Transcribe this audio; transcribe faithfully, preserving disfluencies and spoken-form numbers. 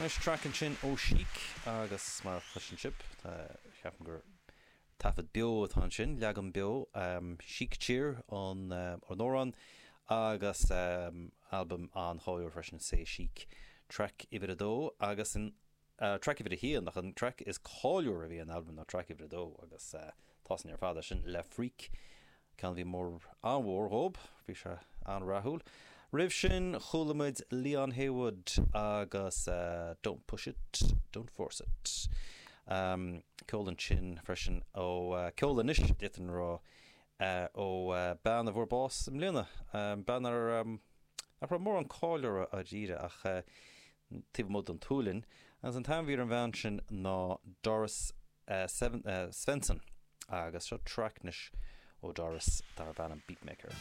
Anois traic ansin ó Chic agus mar a chloiseann sibh, ceapaim gur taifead beo atá ansin, leagan beo um, Chic Cheer an uh, an amhrán agus um, albam an-cháiliúil freisin C'est Chic traic uimhir a dó agus an uh, traic uimhir a haon ach an traic is cáiliúla a bhí an albam ná traic uimhir a dó agus uh, tá sin ar fad sin Le Freak ceann a bhí mór an-mhór dhóibh, bhí sé an-rathúil. Roimh sin chuala muid Leon Haywood agus uh, Don't Push It, Don't Force It. Um, ceol ansin freisin ó uh, ceol anois d'fhéadfainn rá uh, ó uh, bean a fuair bás i mbliana. Um, bean ar um, nach raibh mórán cáil uirthi dáiríre ach uh, taobh amuigh den tSualainn, agus an t-ainm a bhí ar an bhean sin ná Doris uh, Seven, uh, Svensson agus seo traic anois ó Doris darb ainm Beatmaker.